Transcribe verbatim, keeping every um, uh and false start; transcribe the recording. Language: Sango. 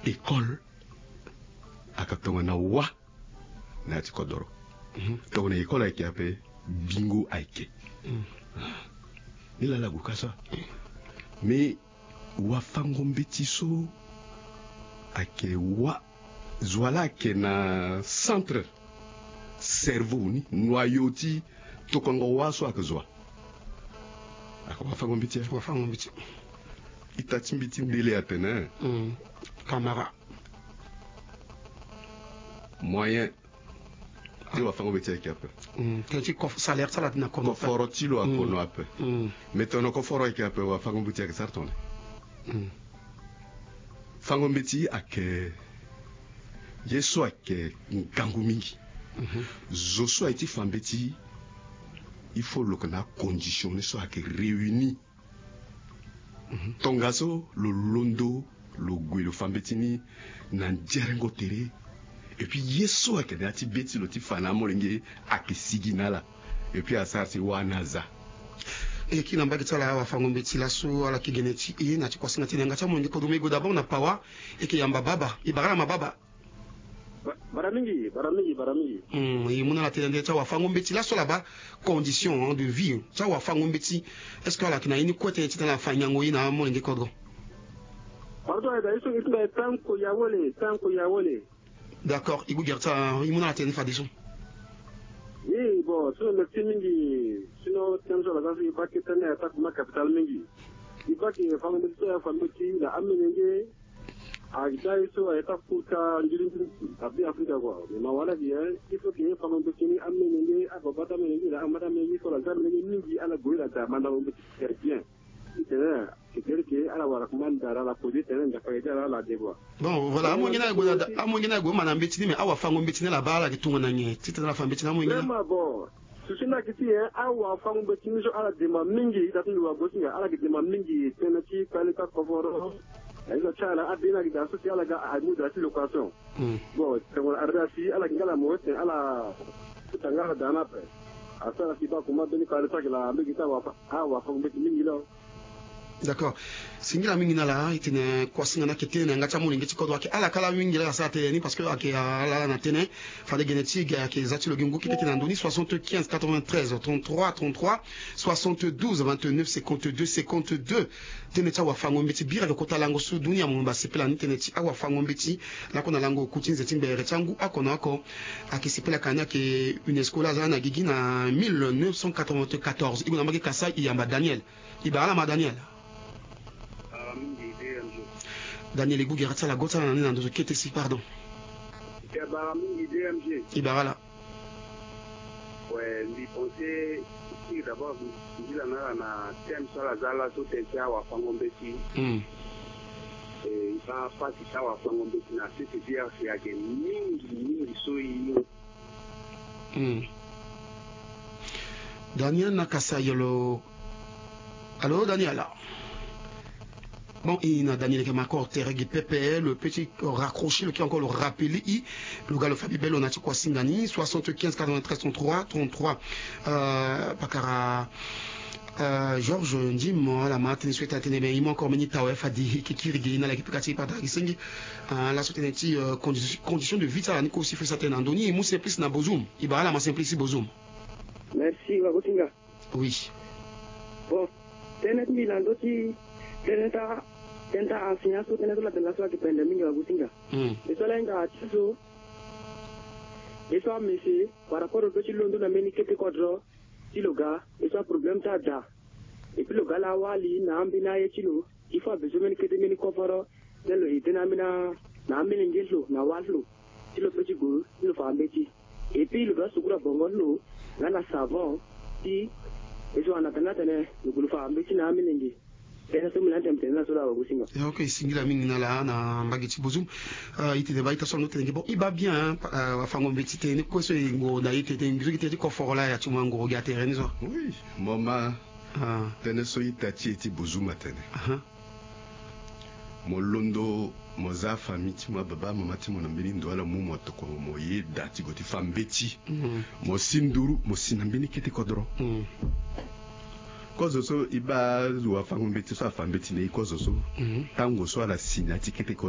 École ayeke tongana wâ na ya ti kodoro. Tongana école ayeke ape, bingo ayeke. Ni laa ala gue ka so. Mais wafango-mbeti so ayeke wâ, zo wa laa ayeke na centre cerveau ni, noyau ti tokongo wâ so ayeke zo wa. Ayeke wafango-mbeti. Wafango-mbeti. Ita ti mbi ti ndele atene kamara. Moyen ti wafango-mbeti ayeke ape. Tënë ti kof- salaire ti ala na kono ape. Koforo ti lo akono ape. Mais tongana koforo ayeke ape, wafango-mbeti ayeke sara tongana fango-mbeti ayeke ye so ayeke ngangu mingi. Zo so aye ti fa mbeti, il faut lo yeke na acondition ni so ayeke réuni. Tongaso lo londo lo gue lo fa mbeti ni na nzerengo tere. Et puis ye so ayeke na ya ti be ti lo ti fa na amolenge ayeke sigi na ala. Et puis asara si wâ ni aza. E kiri na mbage ti ala, awafango-mbeti laso ala yeke gene ti e na ti kuasinga ti e na yanga ti amolenge kodro. E gue d'abord na Pawa, e yeke yamba baba, e bara ala ma baba. Bara mingi, bara mingi, bara mingi. Hmm, e mu na ala tënë ti awafango-mbeti laso ala baa condition, hein, de vie ti awafango-mbeti. Est-ce que ala yeke na ye ni kue tënë ti tene ala fa nyango ye na amolenge kodro? Pardon, ayeke daa ye so e ti mbi aye tanko ya wele, tanko ya wele. D'accord, e gue gere ti ala, e mu na ala tënë fadeso. Oui, bon, sinon merci mingi. Sinon tënë so ala za so e baa ke tënë aye tanko ma capital mingi. E baa ke fango-mbeti so aye afa mbeti na amolenge. Ayeke daa ye so ayeke taa futa nziri ti Beafrika kua. Mais mawa laa gi, il faut que fango-mbeti ni amolenge, ababa ti amolenge na amama ti amolenge so ala za amolenge mingi, ala gue la daa mandango mbeti très bien. Titene ayeke gere ke ala wara kuma ndara ala pose tene nzapa ayeke daa ala de kua. Bon, voilà, amolenge ni ayeke gue na, amolenge ni ayeke gue ma na mbeti ni, mais awafango-mbeti ni ala baa ala yeke tongana nyen titene ala fa mbeti ni amolenge ni? Vraiment, bon. Susu ni ayeke ti nyen? Awafango-mbeti ni so ala demba mingi ita ti lo wa Gosinga, ala yeke demba mingi tënë ti kpale ti akoforo. Aye so ti ala, abe ni ayeke daa so si ala ga amu daa ti location. Bon, tongana ala daa si ala yeke nga ala mo ete ala futa nga ala daa ni ape. Asara si baa kuma mbeni kpale so ayeke laa mbege ti awafa, awafango-mbeti mingi lo. D'accord. Singila mingi na ala, e tene kuasinga ni ayeke tene na yanga ti amolenge ti kodro, ayeke ala kala mingi laa asara tënë ni, parce que ayeke ala na tënë. Fade gene ti e ge ayeke za ti lo gi ngu kete tene na ndö ni, soixante-quinze quatre-vingt-treize trente-trois trente-trois, soixante-douze vingt-neuf cinquante-deux cinquante-deux. Tënë ti awafango-mbeti bira lo kota lango so dunia mobimba asepela ni, tënë ti awafango-mbeti. Lakue na lango oku ti nze ti ngbere ti angu oko na oko. Ayeke sepela ka ni ayeke UNESCO laa aza na gigi na mille neuf cent quatre-vingt-quatorze. E gue na mbage Kasaï, e yamba Daniel. E bara ala ma Daniel. Daniel, e gue gere ti ala, go ti ala na ni na ndo so kete si, pardon. E bara mingi D M G. E bara ala. Ouais, mbi pense ti d'abord mbi la na ala na thème so ala za laso, thème ti awafango-mbeti. Hmm. E, e baa pasi ti awafango-mbeti na sese ti ayeke mingi mingi so e. Hmm. Daniel na Kasaï lo. Allô, Daniel? Bon, e na Daniel ayeke ma encore tere gi pepe, lo peut ti raccrocher, lo kiri encore lo rappeler e. Lo ga lo fa bibel lo na ti kuasinga ni, soixante-quinze quatre-vingt-treize trente-trois trente-trois. Euh, pakara, euh, Georges Ndim, ala ma tënë so e tene tene, mais e mu encore mbeni tawe fade e yeke kiri ge, e na ala yeke pika ti e, pardon, e yeke senge. Ah, laso tënë ti, euh, condi-, condition de vie ti ala ni kue aussi, fo e sa tënë na ndö ni. E mu Simplice na Bozoum. E bara ala ma Simplice ti Bozoum. Merci, wa Gosinga. Oui. Bon, tënë ti mbi na ndö ti tënë ti a, tënë ti a enseignant so, tënë so la tene laso ayeke pende mingi, wa Gosinga. Hmm. E so ala hinga ti so, e so amese par rapport au fait ti londo na mbeni kete kodro ti lo ga, e so aproblème ti ada. Et puis lo ga laa awali na ambeni aye ti lo, il faut abezoin mbeni kete mbeni koforo, ti lo aidé na ambeni, na amolenge ti lo na wâ ti lo, ti lo peut ti gue ti lo fa mbeti. Et puis lo doit sukuru abongo ti lo nga na savon, ti e so ana tene atene lo gue lo fa mbeti na amolenge. Tënë so mbi lani tene mbi tene na so laa, wa Gosinga. Ya, ok, singila mingi na ala na mbage ti Bozoum. Euh, e tene baa ita so ando tene ge, bon, e baa bien, hein, pa-, euh, wafango-mbeti tënë ni kue so e ngoro na e tene, tene ngi so gi tënë ti koforo laa ya ti mo angoro gi atere ni so. Oui, mo ma. Ah. Tënë so ita ti e ti Bozoum atene. Aha. Mo londo, mo za afamille ti mo, ababa amama ti mo na mbeni ndo, ala mu mo tokua mo ye da ti gue ti fa mbeti. Mhm. Mo si nduru, mo si na mbeni kete kodro. Mhm. Kozo so e baa wafango-mbeti so afa mbeti na e, kozo so. Mhm. Tango so ala si na ya ti kete kodro.